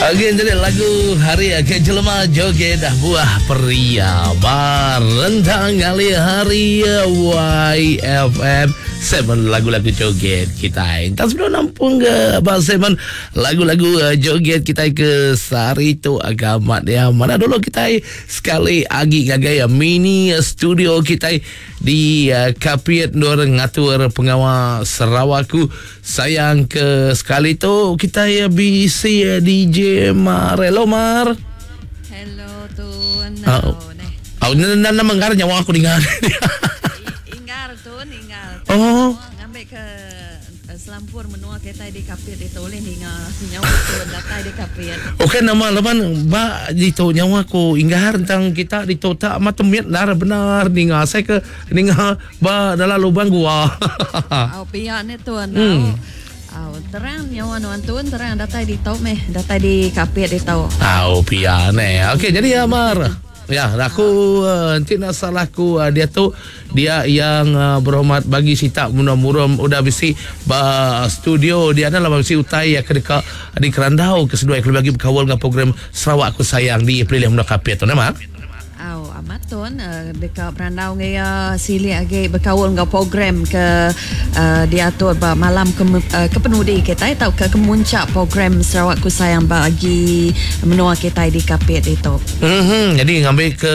Okey, jadi lagu hari ke jelema joget buah peria barentang ngalih hari YFM 7 lagu-lagu joget kita. Entah sebelum nampung ke Abang Seven lagu-lagu joget kita ke sehari tu agak dia. Mana dulu kita sekali agi ngagai mini studio kita di Kapit endur ngatur pengawa Sarawakku Sayang ke sekali tu kitai bisi DJ Mar. Hello Mar. Hello Tun. Oh. Oh, nang nama ngar nyawa aku ninga. Inggar Tun, inggar. Oh. Ngambi ke eh, selampur menua kitai di Kapit ditu ulih ninga nyawa Tun datai di Kapit. Okey nama laban ba ditu nyawa aku inggar tang kita ditu tak amat temit nar benar ninga asai ke Ninga ba dalam lubang gua. Au pia ne tuan. Au. Au terang nyawa nuan tun terang datai ditu meh datai di Kapit ditu. Au pia ne. Okey jadi Amar. Ya, aku enti nak salah aku diatu dia yang berhormat bagi sitak menua Murum udah bisi ba studio dia adalah bisi utai yang ke deka dikerandau ke seduai kelebih agi bekaul dengan program Sarawak Aku Sayang di Pelilih Menua Kapit tu nama. Au amat tun deka berandau enggau iya silik agi bekaul enggau program ke diatur ba malam kepenudi kitai tauka kemuncak program Sarawak Ku Sayang ba agi menua kitai di Kapit ditu. Uhh jadi ngambi ke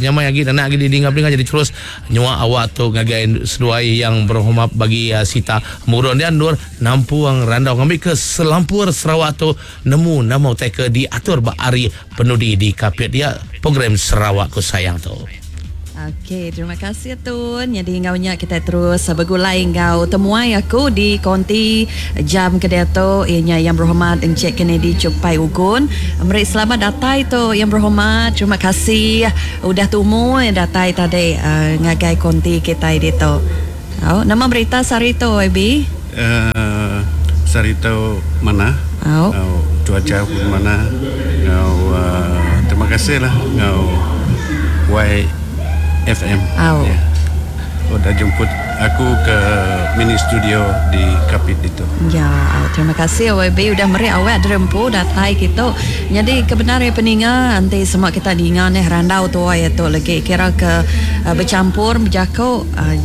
nyamai agi nenak agi didinga peninga jadi terus nyua awak tu ngagai seduai yang berhormat bagi sita murun dia endur nampung randau ngambi ke selampur Sarawak tu nemu nama utai ke diatur ba hari penudi di Kapit dia program Sarawak Ku Sayang tu. Okey, terima kasih Tun. Nyadi enggau nya kitai terus begulai enggau temuai aku di konti jam ke diatu iya nya Yang Berhormat Encik Kennedy Chupai Ugon. Meri selamat datai tu Yang Berhormat. Terima kasih udah tumu datai tadi ngagai konti kitai ditu. Au, nama berita sehari tu YB? Uh, sehari tu manah. Au. Au, cuaca pun manah. Ngau uh, terima kasih lah ngau YFM. Au. Yeah. Udah jemput aku ke mini studio di Kapit ditu. Ya, au, terima kasih YB udah meri awak derempu datai kitu. Nyadi ke bendar iya peninga enti sema kita ninga neh randau tuai tu legi kira ke uh, bechampur bejaku uh,